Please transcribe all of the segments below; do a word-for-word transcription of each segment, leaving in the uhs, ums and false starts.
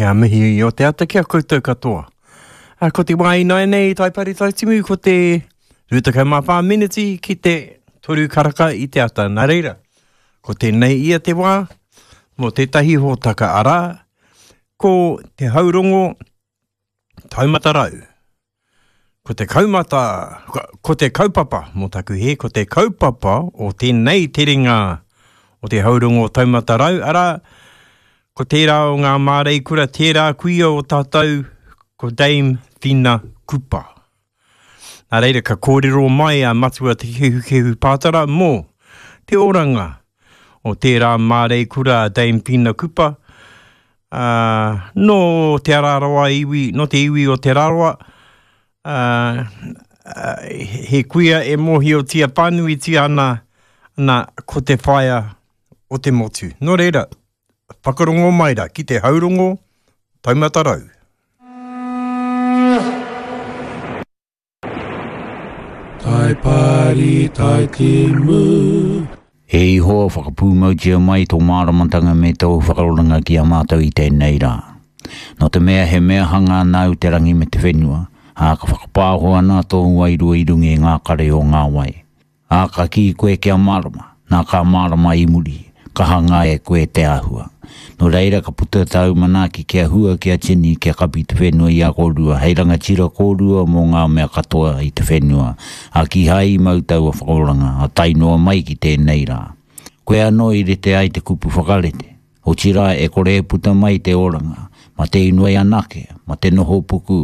Ngā mihi o te ata ki a koutou katoa. A, ko te wā ināianei Taipari Taitimu, ko te rua tekau mā whā miniti ki te toru karaka i te ata. Nā reira, ko tēnei ia te wā mō tētahi hōtaka arā, ko te haurongo taumata rau. Ko te kaumata, ko te kaupapa, mō taku hē, ko te kaupapa o tēnei terenga o te haurongo taumata rau, arā, ko tērā o ngā māreikura, tērā kuia o tātou, ko Dame Whina Kupa. Nā reira, ka kōrero mai a Matua Te Kehukehu Pātara mō te oranga o tērā māreikura a Dame Whina Kupa, ā, nō Te Araroa iwi, nō te iwi o Te Rarawa, ā, he kuia e mōhiotia whānuitia ana, ana ko te whaea o te motu. Nō reira, whakarongo mai rā ki te haurongo taumata rau. Tai pari, tai timu. E Ihowa, whakapūmautia mai tō māramatanga me tōu whakaoranga ki a mātou i tēnei rā. Nō te mea he mea hanga nāu te rangi me te whenua, ā, ka whakapāho ana tōu wairua i runga i ngā kare o ngā wai. Ā, ka kī koe kia mārama, nā ka mārama i muri, ka hangā e koe te āhua. Nō reira ka puta tāu manaaki kia hua, kia tini, kia kapi te whenua i a kōrua, hei rangatira kōrua mō ngā mea katoa i te whenua, ā, kīhai i mau taua whakaoranga, ā tae noa mai ki tēnei rā. Koe anō i rite ai te kupu whakarite, otirā e kore e puta mai te oranga, ma te inoi anake, ma te noho puku,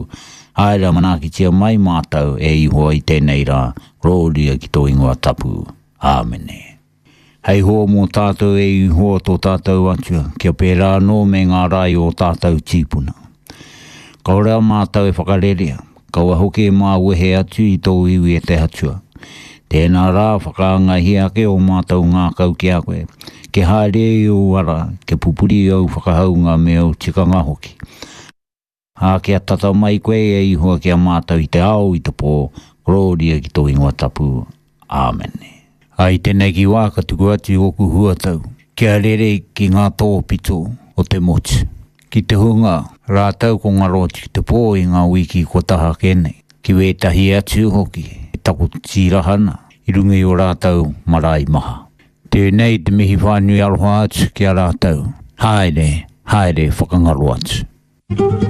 āe rā manaakitia mai mātou e Ihowa i tēnei rā, korōria ki tō ingoa tapu. Āmene. Hei hoa mō tātou e Ihowa tō tātou Atua, kia pērā anō me ngā rā i ō tātou tīpuna. Kāore a mātou e whakarerea, kaua hoki e māwehe atu i tōu iwi e te Atua. Tēnā rā, whakaangahia ake ō mātou ngākau ki a koe, kia haere i ōu ara, kia pupuri i ōu whakahaunga me ōu tikanga hoki. Ā, kia tata mai koe e Ihowa ki a mātou i te ao, i te pō, korōria ki tō ingoa tapu. Āmene. Ā, i tēnei wā ka tuku atu ōku huatau kia rere ki ngā tōpito o te motu, ki te hunga rātou ko ngaro atu ki te pō i ngā wiki kua taha ake nei, ki wētahi atu hoki e takoto tīraha ana i runga i ō rātou marae maha. Tēnei te mihi whānui aroha atu ki a rātou, haere, haere whakangaro atu.